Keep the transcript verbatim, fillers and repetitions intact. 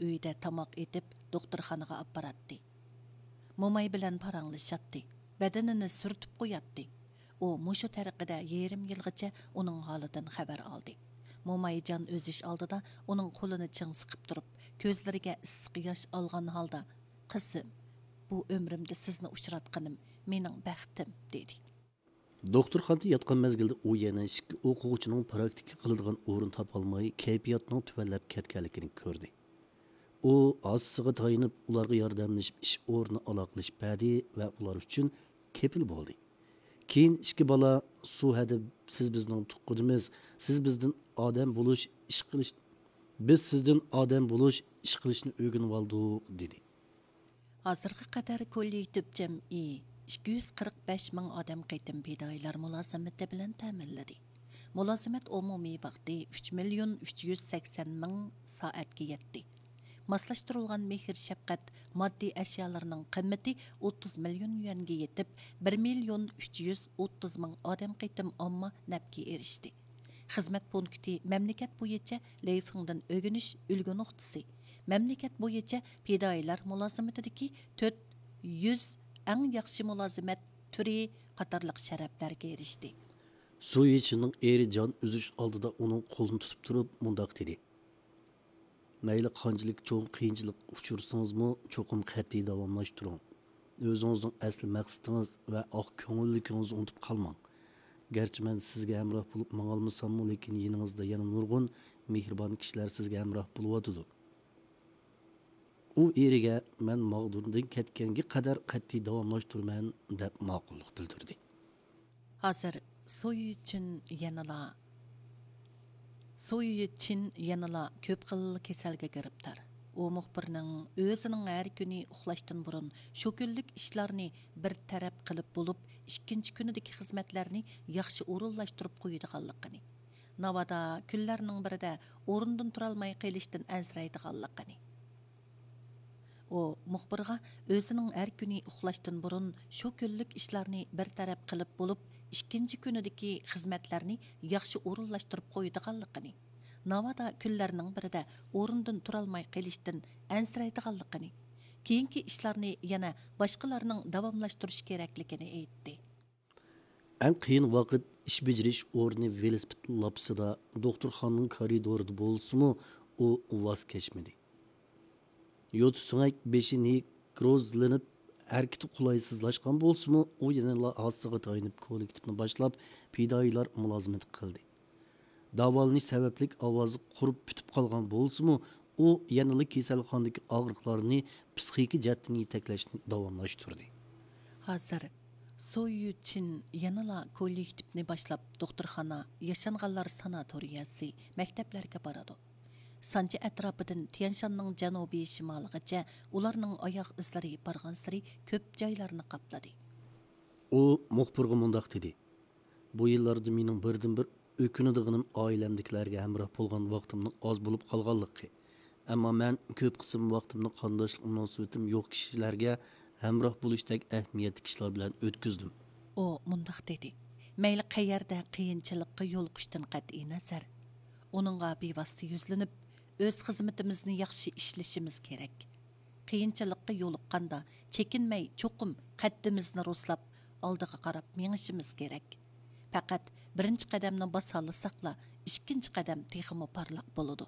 ئۆيدە تاماق ئېتىپ، دوختۇرخانىغا ئاپپاراتتى. موماي بىلەن پاراڭلىشاتتى، بەدىنىنى سۈرتۈپ قوياتتى. ئۇ مۇشۇ تەرىقىدە يېرىم يىلغىچە ئۇنىڭ ھالىدىن خەۋەر ئالدى. موماي جان ئۈزۈش ئالدىدا ئۇنىڭ قولىنى چىڭ سىقىپ تۇرۇپ، كۆزلىرىگە ئىسسىق ياش ئالغان ھالدا، «قىزىم، بۇ ئۆمرۈمدە سىزنى ئۇچراتقىنىم مېنىڭ بەختىم» دېدى. دوختۇرخانىدا ياتقان مەزگىلدە ئۇ يەنە ئىككى ئوقۇغۇچىنىڭ پراكتىكا قىلىدىغان ئورۇن تاپالماي، كەيپىياتىنىڭ تۆۋەنلەپ كەتكەنلىكىنى كۆردى. ئۇ ھاسىسىغا تايىنىپ، ئۇلارغا ياردەملىشىپ، ئىش ئورنى ئالاقىلىشىپ بەردى ۋە ئۇلار ئۈچۈن كېپىل بولدى. كېيىن ئىككى بالا، «سۇ ھەدە، سىز بىزنىڭ تۇغقىنىمىز، سىز بىزدىن ئادەم بولۇش، ئىش قىلىش، بىز سىزدىن ئادەم بولۇش، ئىش قىلىشنى ئۆگىنىۋالدۇق» دېدى. ھازىرغا قەدەر كوللېكتىپ جەمئىي ئىككى يۈز قىرىق بەش مىڭ ئادەم قېتىم پىدائىيلار مۇلازىمىتى بىلەن تەمىنلىدى. مۇلازىمەت ئومۇمىي ۋاقتى ئۈچ مىليون ئۈچ يۈز سەكسەن مىڭ سائەتكە يەتتى. ماسلاشتۇرۇلغان مېھىر شەپقەت ماددىي ئەشيالىرىنىڭ قىممىتى ئوتتۇز مىليون يۈەنگە يېتىپ، بىر مىليون ئۈچ يۈز ئوتتۇز مىڭ ئادەم قېتىم ئامما نەپكە ئېرىشتى. خىزمەت پونكىتى مەملىكەت بويىچە لېيفىڭدىن ئۆگىنىش ئۈلگە نۇقتىسى، مەملىكەت بويىچە پىدائىيلار مۇلازىمىتىدىكى تۆت يۈز ئەڭ ياخشى مۇلازىمەت تۈرى قاتارلىق شەرەپلەرگە ئېرىشتى. سۇ يىچىننىڭ ئېرى جان ئۈزۈش ئالدىدا ئۇنىڭ قولىنى تۇتۇپ تۇرۇپ مۇنداق دېدى: «مەيلى قانچىلىك چوڭ قىيىنچىلىققا ئۇچرىسىڭىزمۇ، چوقۇم قەتئىي داۋاملاشتۇرۇڭ. ئۆزىڭىزنىڭ ئەسلى مەقسىتىڭىز ۋە ئاق كۆڭۈللۈكىڭىزنى ئۇنتۇپ قالماڭ. گەرچە مەن سىزگە ھەمراھ بولۇپ ماڭالمىساممۇ، لېكىن يېنىڭىزدا يەنە نۇرغۇن مېھرىبان كىشىلەر سىزگە ھەمراھ بولۇۋاتىدۇ.» ئۇ ئېرىگە، «مەن ماغدۇردىن كەتكەنگە قەدەر قەتئىي داۋاملاشتۇرىمەن» دەپ ماقۇللۇق بىلدۈردى. ھازىر سويۈچىن يەنىلا، سويۈچىن يەنىلا كۆپ خىل كېسەلگە گىرىپتار. ئۇ مۇخبىرنىڭ ئۆزىنىڭ ھەر كۈنى ئۇخلاشتىن بۇرۇن شۇ كۈنلۈك ئىشلارنى بىر تەرەپ قىلىپ بولۇپ، ئىككىنچى كۈنىدىكى خىزمەتلەرنى ياخشى ئورۇنلاشتۇرۇپ قويىدىغانلىقىنى، ناۋادا كۈنلەرنىڭ بىرىدە ئورنىدىن تۇرالماي قېلىشتىن ئەنسىرەيدىغانلىقىنى. ئۇ مۇخبىرغا ئۆزىنىڭ ھەر كۈنى ئۇخلاشتىن بۇرۇن شۇ كۈنلۈك ئىشلارنى بىر تەرەپ قىلىپ بولۇپ، ئىككىنچى كۈنىدىكى خىزمەتلەرنى ياخشى ئورۇنلاشتۇرۇپ قويىدىغانلىقىنى، ناۋادا كۈنلەرنىڭ بىرىدە ئورنىدىن تۇرالماي قېلىشتىن ئەنسىرەيدىغانلىقىنى، كېيىنكى ئىشلارنى يەنە باشقىلارنىڭ داۋاملاشتۇرۇشى كېرەكلىكىنى ئېيتتى. ئەڭ قىيىن ۋاقىت ئىش بېجىرىش ئورنى ۋېلىسىپىت لاپىسىدا، دوختۇرخانىنىڭ كارىدورىدا بولسىمۇ، ئۇ ۋاز كەچمىدى. يوتا سۆڭەك بېشى نېكروزلىنىپ، ھەرىكىتى قولايسىزلاشقان بولسىمۇ، ئۇ يەنىلا ھاسىسىغا تايىنىپ كوللېكتىپنى باشلاپ، پىدائىيلار مۇلازىمىتى قىلدى. داۋالىنىش سەۋەبلىك ئاۋازى قۇرۇپ پۈتۈپ قالغان بولسىمۇ، ئۇ يەنىلا كېسەلخانىدىكى ئاغرىقلارنى پىسخىكا جەھەتتىن يېتەكلەشنى داۋاملاشتۇردى. ھازىر سو يۈچىن يەنىلا كوللېكتىپنى باشلاپ، دوختۇرخانا، ياشانغانلار ساناتورىيەسى، مەكتەپلەرگە بارىدۇ. سانجى ئەتراپىدىن تيەنشاننىڭ جەنۇبىي شىمالىغىچە ئۇلارنىڭ ئاياغ ئىزلىرى بارغانسېرى كۆپ جايلارنى قاپلىدى. ئۇ مۇخبىرغا مۇنداق دېدى: «بۇ يىللاردا مېنىڭ بىردىنبىر ئۆكۈنىدىغىنىم ئائىلەمدىكىلەرگە ھەمراھ بولغان ۋاقتىمنىڭ ئاز بولۇپ قالغانلىقى. ئەمما مەن كۆپ قىسىم ۋاقتىمنى قانداشلىق مۇناسىۋىتىم يوق كىشىلەرگە ھەمراھ بولۇشتەك ئەھمىيەتلىك ئىشلار بىلەن ئۆتكۈزدۈم.» ئۇ مۇنداق دېدى: «مەيلى قەيەردە قىيىنچىلىققا يولۇقۇشتىن قەتئىينەزەر، ئۇنىڭغا بىۋاسىتە يۈزلىنىپ، ئۆز خىزمىتىمىزنى ياخشى ئىشلىشىمىز كېرەك. قىيىنچىلىققا يولۇققاندا، چېكىنمەي، چوقۇم قەددىمىزنى رۇسلاپ، ئالدىغا قاراپ مېڭىشىمىز كېرەك. پەقەت بىرىنچى قەدەمنى باسالىساقلا، ئىككىنچى قەدەم تېخىمۇ پارلاق بولىدۇ.»